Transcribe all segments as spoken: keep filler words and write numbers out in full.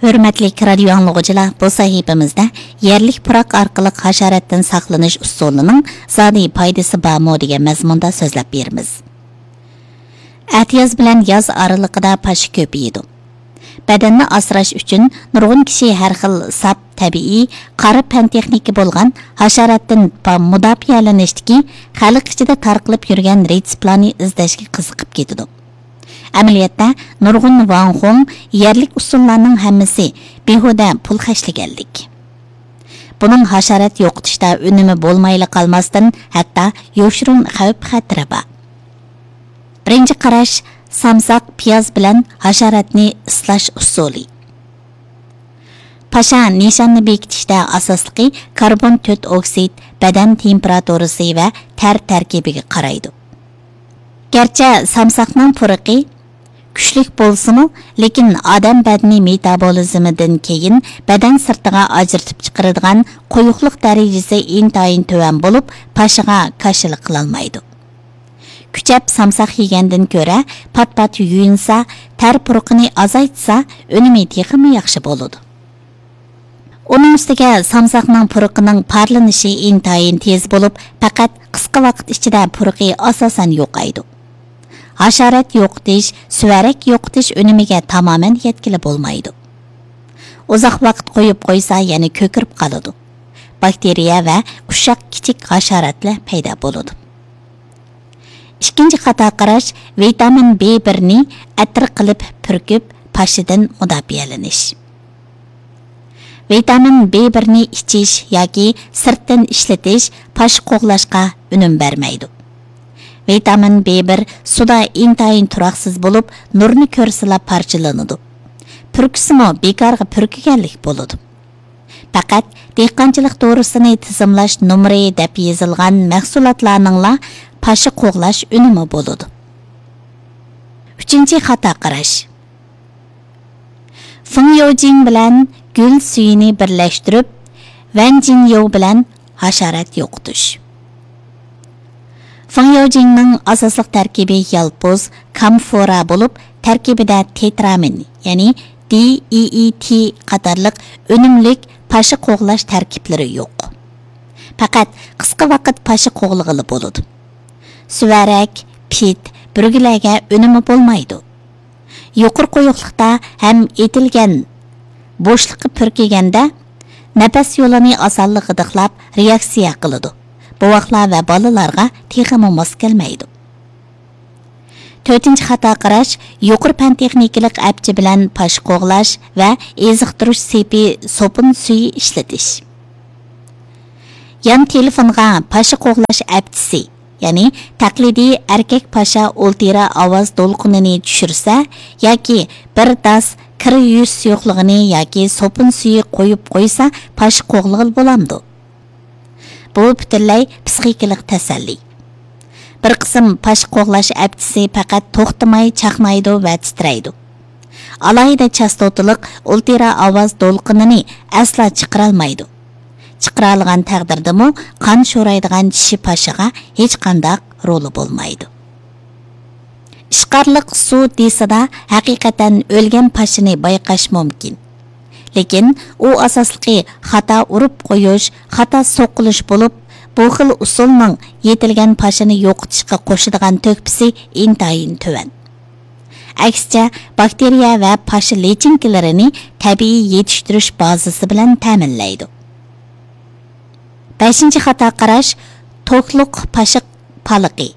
ھۆرمەتلىك رادىيو ئاڭلىغۇچىلار، بۇ سەھىپىمىزدە يەرلىك پۇراق ئارقىلىق ھاشاراتتىن ساقلىنىش ئۇسۇلىنىڭ زادى پايدىسى بارمۇ دېگەن مەزمۇندا سۆزلەپ بېرىمىز. ئەتىياز بىلەن ياز ئارىلىقىدا پاشا كۆپىيىدۇ. بەدەننى ئاسراش ئۈچۈن نۇرغۇن كىشى ھەر خىل ساپ، تەبىئىي، قارا پەن تېخنىكا بولغان ھاشاراتتىن پا-، مۇداپىئەلىنىشتىكى خەلق ئىچىدە تارقىلىپ يۈرگەن رېتسېپلارنى ئىزدەشكە قىزىقىپ كېتىدۇ. ئەمەلىيەتتە، نۇرغۇن ۋاڭخۇڭ يەرلىك ئۇسۇللارنىڭ ھەممىسى بىھۇدە پۇل خەجلىگەنلىك. بۇنىڭ ھاشارات يوقىتىشتا ئۈنۈمى بولمايلا قالماستىن، ھەتتا يوشۇرۇن خەۋپ-خەتىرى بار. بىرىنچى قاراش، سامساق، پىياز بىلەن ھاشاراتنى ئىسلاش ئۇسۇلى. پاشا نىشاننى بېكىتىشتە ئاساسلىقى كاربون تۆت ئوكسىد، بەدەن تېمپېراتۇرىسى ۋە تەر تەركىبىگە قارايدۇ. گەرچە سامساقنىڭ پۇرىقى كۈچلۈك بولسىمۇ، لېكىن ئادەم بەدىنى مېتابولىزمىدىن كېيىن بەدەن سىرتىغا ئاجرىتىپ چىقىرىدىغان قويۇقلۇق دەرىجىسى ئىنتايىن تۆۋەن بولۇپ، پاشىغا كاشىلىق قىلالمايدۇ. كۈچەپ سامساق يېگەندىن كۆرە پات-پات يۇيۇنسا، تەر پۇرىقىنى ئازايتسا، ئۈنۈمى تېخىمۇ ياخشى بولىدۇ. ئۇنىڭ ئۈستىگە سامساقنىڭ پۇرىقىنىڭ پارلىنىشى ئىنتايىن تېز بولۇپ، پەقەت قىسقا ۋاقىت ئىچىدە پۇرىقى ئاساسەن يوقايدۇ. ھاشارات يوقىتىش، سۈۋەرەك يوقىتىش ئۈنۈمىگە تامامەن يەتكىلى بولمايدۇ. ئۇزاق ۋاقىت قويۇپ قويسا، يەنە كۆكىرىپ قالىدۇ. باكتېرىيە ۋە ئۇششاق كىچىك ھاشاراتلار پەيدا بولىدۇ. ئىككىنچى خاتا قاراش، ۋىتامىن بى بىرنى ئەتىر قىلىپ پۈركۈپ، پاشىدىن مۇداپىئەلىنىش. ۋىتامىن بى بىرنى ئىچىش ياكى سىرتتىن ئىشلىتىش پاشا قوغلاشقا ئۈنۈم بەرمەيدۇ. ۋىتامىن بى بىر سۇدا ئىنتايىن تۇراقسىز بولۇپ، نۇرنى كۆرسىلا پارچىلىنىدۇ. پۈركۈسىمۇ بىكارغا پۈركىگەنلىك بولىدۇ. پەقەت دېھقانچىلىق دورىسىنى تىزىملاش نومۇرى دەپ يېزىلغان مەھسۇلاتلارنىڭلا پاشا قوغلاش ئۈنۈمى بولىدۇ. ئۈچىنچى خاتا قاراش. فېڭيوجىڭ بىلەن گۈل سۈيىنى بىرلەشتۈرۈپ، ۋەنجىنيو بىلەن ھاشارات يوقىتىش. فېڭيوجىڭنىڭ ئاساسلىق تەركىبى يالپۇز، كامفورا بولۇپ، تەركىبىدە تېترامىن، يەنى دى ئى ئى تى قاتارلىق ئۈنۈملۈك پاشا قوغلاش تەركىبلىرى يوق. پەقەت قىسقا ۋاقىت پاشا قوغلىغىلى بولىدۇ. سۈۋەرەك، پىت، بۈرگىلەرگە ئۈنۈمى بولمايدۇ. يۇقىرى قويۇقلۇقتا ھەم ئېتىلگەن بوشلۇققا پۈركىگەندە، نەپەس يولىنى ئاسانلا غىدىقلاپ، رېئاكسىيە قىلىدۇ. بوۋاقلار ۋە بالىلارغا تېخىمۇ ماس كەلمەيدۇ. تۆتىنچى خاتا قاراش، يۇقىرى پەن تېخنىكىلىق ئەپچى بىلەن پاشا قوغلاش ۋە ئېزىقتۇرۇش سېپى سوپۇن سۈيى ئىشلىتىش. يان تېلېفونغا پاشا قوغلاش ئەپچىسى، يەنى تەقلىدىي ئەركەك پاشا ئولتىرا ئاۋاز دولقۇنىنى چۈشۈرسە ياكى بىر داس كىر يۇيۇش سۇيۇقلۇقىنى ياكى سوپۇن سۈيى قويۇپ قويسا، پاشا قوغلىغىلى بولامدۇ؟ بۇ پۈتۈنلەي پىسخىكىلىق تەسەللى. بىر قىسىم پاشا قوغلاش ئەپچىسى پەقەت توختىماي چاقنايدۇ ۋە تىترەيدۇ. ئالاھىدە چاستوتىلىق ئولتىرا ئاۋاز دولقۇنىنى ئەسلا چىقىرالمايدۇ. چىقىرالىغان تەقدىردىمۇ قان شورايدىغان چىشى پاشىغا ھېچقانداق رولى بولمايدۇ. ئىشقارلىق سۇ دېسىدا ھەقىقەتەن ئۆلگەن پاشىنى بايقاش مۇمكىن. لېكىن ئۇ ئاساسلىقى خاتا ئۇرۇپ قويۇش، خاتا سوقۇلۇش بولۇپ، بۇ خىل ئۇسۇلنىڭ يېتىلگەن پاشىنى يوقىتىشقا قوشىدىغان تۆھپىسى ئىنتايىن تۆۋەن. ئەكسىچە، باكتېرىيە ۋە پاشا لىچىنكىلىرىنى تەبىئىي يېتىشتۈرۈش بازىسى بىلەن تەمىنلەيدۇ. بەشىنچى خاتا قاراش، توكلۇق پاشا پالىقى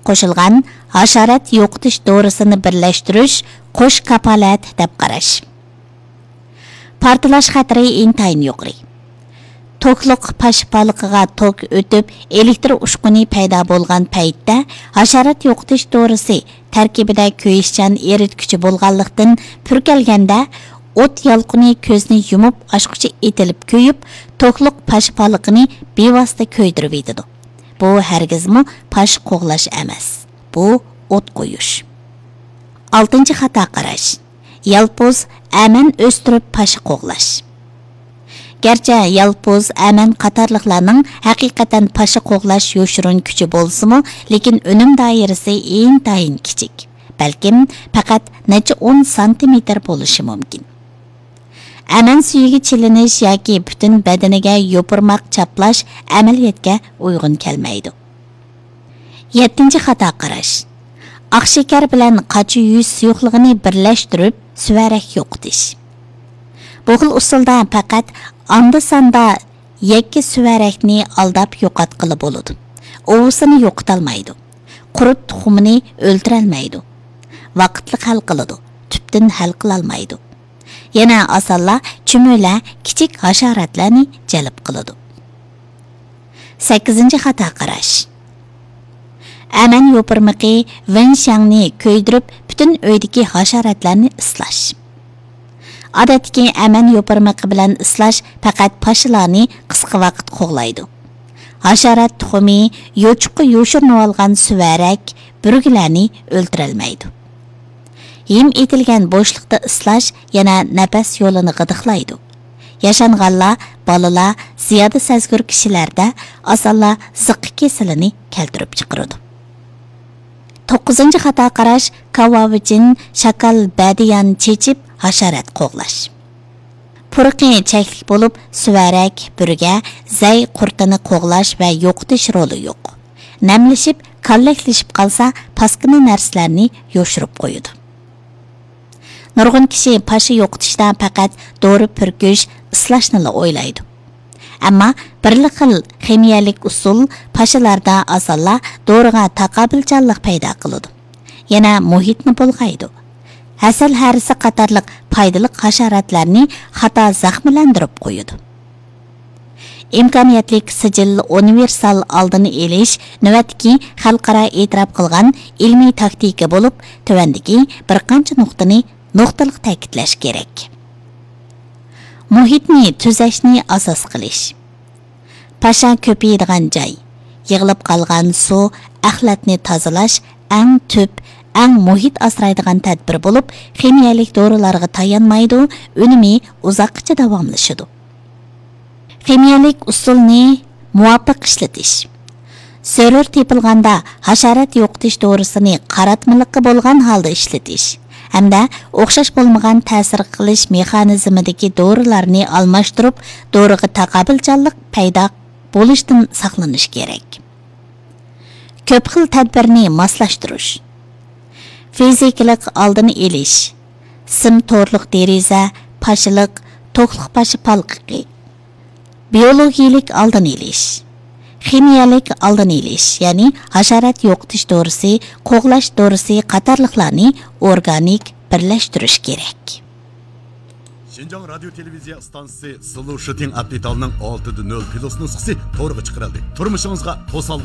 قوشۇلغان ھاشارات يوقىتىش دورىسىنى بىرلەشتۈرۈش قوش كاپالەت دەپ قاراش. پارتلاش خەتىرى ئىنتايىن يۇقىرى. توكلۇق پاشا پالىقىغا توك ئۆتۈپ، ئېلېكتر ئۇچقۇنى پەيدا بولغان پەيتتە، ھاشارات يوقىتىش دورىسى تەركىبىدە كۆيۈشچان ئېرىتكۈچى بولغانلىقتىن، پۈركەلگەندە ئوت يالقۇنى كۆزنى يۇمۇپ ئاچقۇچە ئېتىلىپ كۆيۈپ، توكلۇق پاشا پالىقىنى بىۋاسىتە كۆيدۈرۈۋېتىدۇ. بۇ ھەرگىزمۇ پاشا قوغلاش ئەمەس. بۇ ئوت قويۇش. ئالتىنچى خاتا قاراش. يالپۇز، ئەمەن ئۆستۈرۈپ پاشا قوغلاش. گەرچە يالپۇز، ئەمەن قاتارلىقلارنىڭ ھەقىقەتەن پاشا قوغلاش يوشۇرۇن كۈچى بولسىمۇ، لېكىن ئۈنۈم دائىرىسى ئىنتايىن كىچىك. بەلكىم پەقەت نەچچە ئون سانتىمېتىر بولۇشى مۇمكىن. ئەمەن سۈيىگە چىلىنىش ياكى پۈتۈن بەدىنىگە يوپۇرماق چاپلاش ئەمەلىيەتكە ئۇيغۇن كەلمەيدۇ. يەتتىنچى خاتا قاراش. ئاق شېكەر بىلەن قاچا يۈز سۇيۇقلۇقىنى بىرلەشتۈرۈپ، سۈۋەرەك يوقىتىش. بۇ خىل ئۇسۇلدا پەقەت ئاندا-ساندا يەككە سۈۋەرەكنى ئالداپ يوقاتقىلى بولىدۇ. ئۇۋىسىنى يوقىتالمايدۇ. قۇرت تۇخۇمىنى ئۆلتۈرەلمەيدۇ. ۋاقىتلىق ھەل قىلىدۇ، تۈپتىن ھەل قىلالمايدۇ. يەنە ئاسانلا چۈمۈلە، كىچىك ھاشاراتلارنى جەلپ قىلىدۇ. سەككىزىنچى خاتا قاراش. ئەمەن يوپۇرمىقى ۋېنشياڭنى كۆيدۈرۈپ، پۈتۈن ئۆيدىكى ھاشاراتلارنى ئىسلاش. ئادەتتىكى ئەمەن يوپۇرمىقى بىلەن ئىسلاش پەقەت پاشىلارنى قىسقا ۋاقىت قوغلايدۇ. ھاشارات تۇخۇمى، يوچۇققا يوشۇرۇنۇۋالغان سۈۋەرەك، بۈرگىلەرنى ئۆلتۈرەلمەيدۇ. ھىم ئېتىلگەن بوشلۇقتا ئىسلاش يەنە نەپەس يولىنى غىدىقلايدۇ. ياشانغانلار، بالىلار، زىيادە سەزگۈر كىشىلەردە ئاسانلا زىققا كېسىلىنى كەلتۈرۈپ چىقىرىدۇ. توققۇزىنچى خاتا قاراش، كاۋاۋىچىن، شاكال، بەدىيان چېچىپ، ھاشارات قوغلاش. پۇرىقى چەكلىك بولۇپ، سۈۋەرەك، بۈرگە، زەي قۇرتىنى قوغلاش ۋە يوقىتىش رولى يوق. نەملىشىپ، كاللەكلىشىپ قالسا، پاسكىنا نەرسىلەرنى يوشۇرۇپ قويىدۇ. نۇرغۇن كىشى پاشا يوقىتىشتا پەقەت دورا پۈركۈش، ئىسلاشنىلا ئويلايدۇ. ئەمما بىرلا خىل خىمىيەلىك ئۇسۇل پاشىلاردا ئاسانلا دورىغا تاقابىلچانلىق پەيدا قىلىدۇ. يەنە مۇھىتنى بۇلغايدۇ. ھەسەل ھەرىسى قاتارلىق پايدىلىق ھاشاراتلارنى خاتا زەخىملەندۈرۈپ قويىدۇ. ئىمكانىيەتلىك سىجىل ئۇنىۋېرسال ئالدىنى ئېلىش نۆۋەتتىكى خەلقئارا ئېتىراپ قىلغان ئىلمىي تاكتىكا بولۇپ، تۆۋەندىكى بىر قانچە نۇقتىنى نۇقتىلىق تەكىتلەش كېرەك. مۇھىتنى تۈزەشنى ئاساس قىلىش. پاشا كۆپىيىدىغان جاي، يىغىلىپ قالغان سۇ، ئەخلەتنى تازىلاش ئەڭ تۈپ، ئەڭ مۇھىت ئاسرايدىغان تەدبىر بولۇپ، خىمىيەلىك دورىلارغا تايانمايدۇ، ئۈنۈمى ئۇزاققىچە داۋاملىشىدۇ. خىمىيەلىك ئۇسۇلنى مۇۋاپىق ئىشلىتىش. زۆرۈر تېپىلغاندا ھاشارات يوقىتىش دورىسىنى قاراتمىلىققا بولغان ھالدا ئىشلىتىش ھەمدە ئوخشاش بولمىغان تەسىر قىلىش مېخانىزمىدىكى دورىلارنى ئالماشتۇرۇپ، دورىغا تاقابىلچانلىق پەيدا بولۇشتىن ساقلىنىش كېرەك. كۆپ خىل تەدبىرنى ماسلاشتۇرۇش. فىزىكىلىق ئالدىنى ئېلىش، سىم تورلۇق دېرىزە، پاشىلىق، توكلۇق پاشا پالقىقى. بىيولوگىيىلىك ئالدىنى ئېلىش، خىمىيەلىك ئالدىنى ئېلىش، يەنى ھاشارات يوقىتىش دورىسى، قوغلاش دورىسى قاتارلىقلارنى ئورگانىك بىرلەشتۈرۈش كېرەك. شىنجاڭ رادىيو تېلېۋىزىيە ئىستانسىسى سلۇشىتىڭ ئاپتىتالنىڭ ئالتە دە نۆل پىلۇس نۇسخىسى تورغا چىقىرىلدى. تۇرمۇشىڭىزغا توسالغۇ